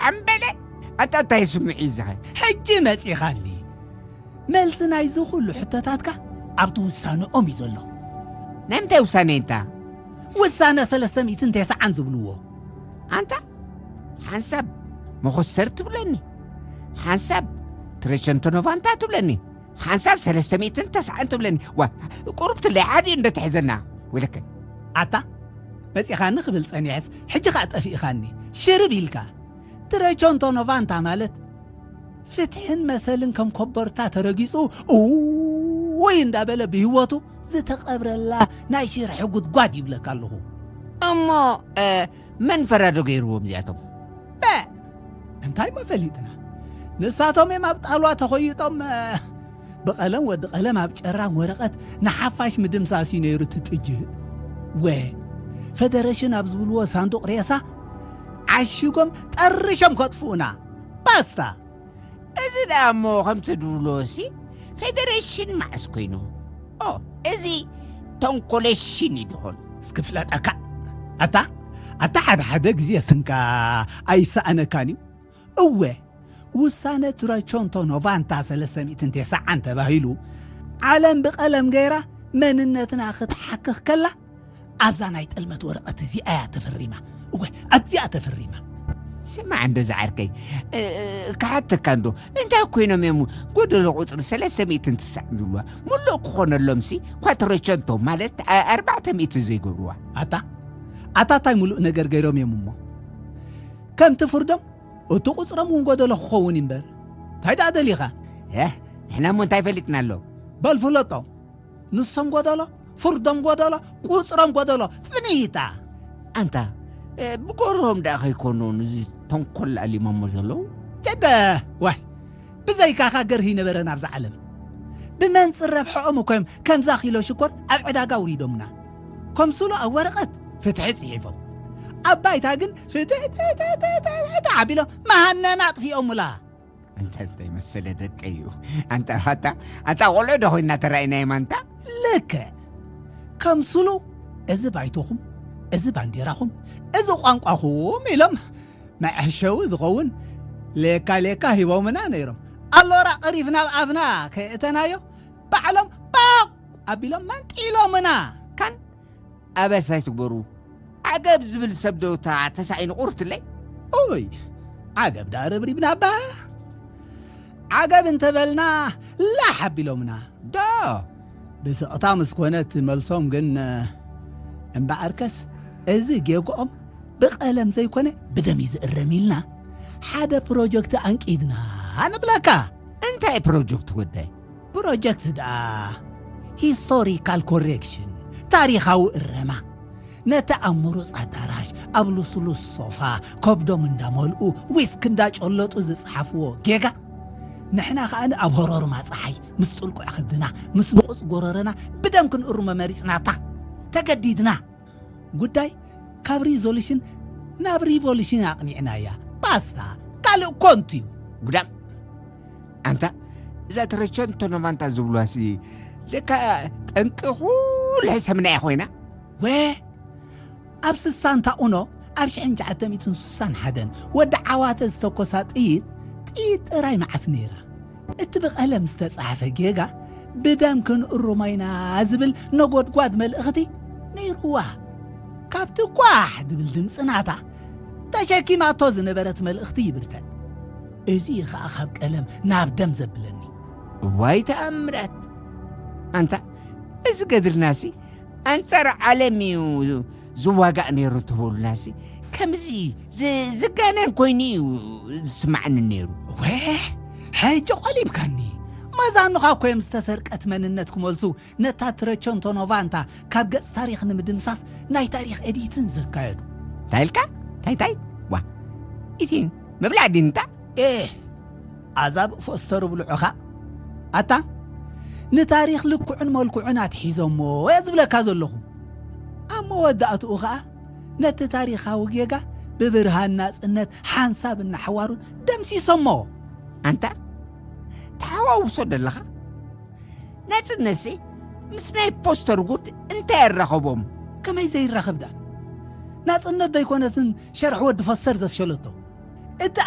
እምበለ ኣታ እንታይ ስምዒ ዝኸ? ሕጂ መጺኻኒ። መልሲ ናይዚ ኩሉ ሕቶታትካ ኣብቲ ውሳነኦም እዩ ዘሎ። ናይ ምንታይ ውሳነ እንታ? ውሳነ ሰለስተ ሚእትን ተስዓን ዝብልዎ። ኣንታ ሓንሳብ መኾስተር ትብለኒ፣ ሓንሳብ ትረሸንቶ ኖቫንታ ትብለኒ፣ ሓንሳብ ሰለስተ ሚእትን ተስዓን ትብለኒ። ዋ፣ ቁሩብ ትለይ ሓደ እንዶ ትሕዘና። ወለከ ኣታ መጺኻኒ ክብል ጸኒሐስ፣ ሕጂ ኸኣ ጠፊእኻኒ። ሽርብ ኢልካ። ትረቸንቶ ኖቫንታ ማለት ፍትሕን መሰልን ከም ኮቦርታ ተረጊጹ፣ እውይ እንዳበለ ብህይወቱ ዝተቐብረላ ናይ ሽርሒ ጉድጓድ ይብለካ ኣለኹ። እሞ፣ እ፣ መን ፈራዶ ገይርዎም እዚኣቶም? በ-፣ እንታይ እሞ ፈሊጥና? ንሳቶም እዮም ኣብ ጣልዋ ተኾይጦም፣ እ፣ ብቐለም ወዲ ቀለም ኣብ ጨራም ወረቐት ንሓፋሽ ምድምሳስ እዩ ነይሩ እቲ ጥጅእ። ወ-፣ ፈደረሽን ኣብ ዝብልዎ ሳንዱቕ ሬሳ ዓሺጎም ጠሪሾም ከጥፍኡና። ባስታ። እዚ ደኣ እሞ ከምቲ ድብሎሲ ፌደሬሽን መዓስ ኮይኑ? ኦ፣ እዚ ተንኮለሽን እዩ ድኾን። እስኪ ፍለጠካ። ኣታ፣ ኣታ ሓደ ሓደ ግዜ ስንካ ኣይሰኣነካን እዩ። እወ፣ ውሳነ ትረቾንቶ ኖቫንታ ሰለስተ ሚእትን ተስዓን ተባሂሉ፣ ዓለም ብቐለም ገይራ መንነትና ክትሓክኽ ከላ፣ ኣብዛ ናይ ጥልመት ወረቐት እዚኣ እያ ተፈሪማ። እወ፣ ኣብዚኣ ተፈሪማ። ስማዕ እንዶ ዝዓርከይ፣ እ፣ እ፣ ክሓተካ እንዶ፣ እንታይ ኮይኖም እዮም ጎደሎ ቁጽሪ ሰለስተ ሚእትን ተስዓን ዝብልዋ? ሙሉእ ክኾነሎምሲ ኳትሮቸንቶ ማለት ኣ-፣ ኣርባዕተ ሚእቲ ዘይገብርዋ? ኣታ፣ ኣታ እንታይ ሙሉእ ነገር ገይሮም እዮም እሞ? ከምቲ ፍርዶም፣ እቲ ቁጽሮም እውን ጎደሎ ክኸውን እዩ እምበር። እንታይ ደኣ ደሊኻ? እ፣ ንሕና እሞ እንታይ ፈሊጥናሎም? በል ፍለጦም። ንሶም ጎደሎ፣ ፍርዶም ጎደሎ፣ ቁጽሮም ጎደሎ፣ ፍንይታ። ኣንታ፣ እ፣ ብጎርሆም ደኣ ከይኮኑ ንዚ ተንኮል ኣሊሞሞ ዘለዉ? ጀደ፣ ዋይ፣ ብዘይካኻ ገርሂ ነበረን ኣብዛ ዓለም። ብመንጽር ረብሐኦም እኮ እዮም ከምዛ ኪሎ ሽኮር ኣብ ዕዳጋ ኣውሪዶምና። ኮምስሉ ኣብ ወረቐት ፍትሒ ጽሒፎም። ኣብ ባይታ ግን ፍትሕትሕትሕትሕትሕ ኣቢሎም መሃነና ኣጥፊኦሙላ። ኣንታ እንታይ መሰለ ደቀይ እዩ። ኣንታ፣ ኣንታ፣ ኣንታ ቆልዑ ዶ ኮይንና ተራኢናዮም ኣንታ? ልክዕ። ከምስሉ፣ እዚ ባይቶኹም፣ እዚ ባንዴራኹም፣ እዚ ቋንቋኹም ኢሎም መዐሸዊ ዝኸውን ሌካ ሌካ ሂቦምና ነይሮም። ኣሎራ ቀሪፍ ናብ ኣፍና ከየእተናዮ፣ ባዕሎም ጳቕ ኣቢሎም መንጢሎምና። ካን ኣበሳ ኣይትግበሩ። ዓገብ ዝብል ሰብ ዶ እታ ተሳኢኑ ቁርትለይ? ኡይ፣ ዓገብ ደኣ ረብሪብና እባ። ዓገብ እንተበልና ላሕ ኣቢሎምና። ዶ? ብስቕታ ምስ ኮነት መልሶም ግን፣ እምበኣርከስ እዚ ጌግኦም ብቐለም ዘይኮነ ብደም እዩ ዝእረም ኢልና ሓደ ፕሮጀክት ኣንቂድና ንብለካ። እንታይ ፕሮጀክት ወደይ? ፕሮጀክት ደኣ ሂስቶሪካል ኮሬክሽን፣ ታሪኻዊ እረማ። ነቲ ኣብ ምሩጽ ኣዳራሽ፣ ኣብ ልስሉስ ሶፋ፣ ከብዶም እንዳመልኡ፣ ዊስክ እንዳጨለጡ ዝጸሓፍዎ ጌጋ፣ ንሕና ከኣ ኣብ ሆሮርማ ጸሓይ፣ ምስ ጥልቁዕ ከብድና፣ ምስ ንቑጽ ጎረረና፣ ብደም ክንእርሞ መሪጽናታ። ተገዲድና። ጉዳይ ካብ ሪዞሉሽን ናብ ሪቮሉሽን ኣቕኒዕናያ። ባስታ፣ ካልእ ኮንቱ እዩ። ጉዳም። ኣንታ፣ እዛ ተረቸንቶ ኖቫንታ ዝብሉዋሲ፣ ለካ ጠንቂ ኩሉ ሕሰምና እያ ኮይና። ወ፣ ኣብ ስሳን ታኡኖ፣ ኣብ ሽሕን ትሽዓተ ሚእትን ስሳን ሓደን ወዲ ዓዋተ ዝተኮሳ ጥይት፣ ጥይት ጥራይ መዓስ ነይራ? እቲ ብቐለም ዝተጻሕፈ ጌጋ፣ ብደም ክንእርሞ ኢና ዝብል ነጎድጓድ መልእኽቲ ነይርዋ። ካብቲ ጓሕ ዝብል ድምጺ ናታ፣ ተሸኪማቶ ዝነበረት መልእኽቲ ይብርትዕ። እዚ እዩ ኸኣ ካብ ቀለም ናብ ደም ዘብለኒ። እዋይ ተኣምራት! ኣንታ፣ እዚ ገድልናሲ ኣንጻር ዓለም እዩ ዝዋጋእ ነይሩ እንትበሉናሲ፣ ከምዚ ዝ-፣ ዝጋነን ኮይኑ እዩ ዝስማዓኒ ነይሩ። ወ፣ ሕጂ ቆሊብካኒ። መዛኑኻ እኮ እዮም ዝተሰርቀት መንነት ክመልሱ ነታ ትረቸንቶ ኖቫንታ ካብ ገጽ ታሪኽ ንምድምሳስ ናይ ታሪኽ ኤዲትን ዘካየዱ። እንታይ ኢልካ? እንታይ፣ እንታይ? ዋ፣ ኢቲን ምብላዕ ዲንታ? ኤህ፣ ኣዛብእ ፎስተር ብልዑኻ። ኣታ፣ ንታሪኽ ልክዑን መልክዑን ኣትሒዞሞ እየ ዝብለካ ዘለኹ። ኣብ መወዳእትኡ ኸኣ ነቲ ታሪኻዊ ጌጋ ብብርሃን ናጽነት ሓንሳብ እናሓዋሩን ደምሲሶሞ። ኣንታ፣ ተሓዋውሶ ደለኻ? ናጽነትሲ ምስ ናይ ፖስተር ጉድ እንታይ ኣራኸቦም? ከመይ ዘይራኸብ ደኣ? ናጽነት ዶ ኣይኮነትን ሸርሒ ወዲ ፎስተር ዘፍሸለቶ? እቲ